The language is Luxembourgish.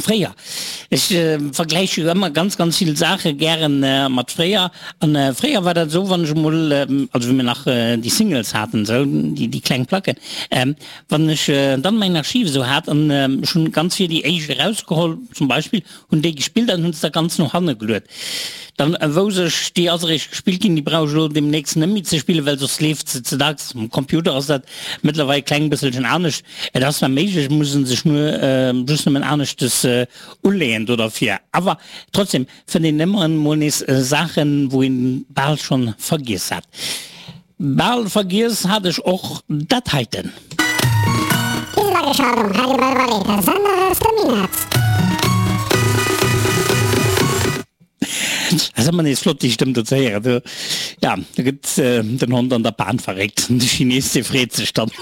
Fréier. Ech vergläiche jo ëmmer ganz, ganz vill Saache gären mat fréier. An fréier war dat esou, wann ech emol, also wéi mir nach déi Singles haten esou, déi, déi kleng Placken, wann ech dann mäin Archiv esou hat an ech hunn ganz vir déi éischt erausgeholl zum Beispill, hunn déi gespillt an hunn se da ganz no hanne geluet. Dann wousst ech, déi ass eréischt gespillt ginn, déi brauch ech elo deemnächst net méi ze spillen, well soss leeft se ze dacks. Um Computer ass dat mëttlerweil e kleng bësselchen anescht. Et ass zwar méiglech, et muss en sech nur just nëmmen aneschtes uleeën do derfir, awer trotzdem fënnt een ëmmer emol nees Saachen, wou een bal schonn vergiess hat. Bal vergiess hat ech och dat heiten. Iwwergeschalt um Radio Belval, der Sender aus dem Minett. Ass ëmmer nees flott déi Stëmm do ze héieren. Do, ja, do gëtt den Hond an der Pan verréckt. De Chines dee freet sech dann.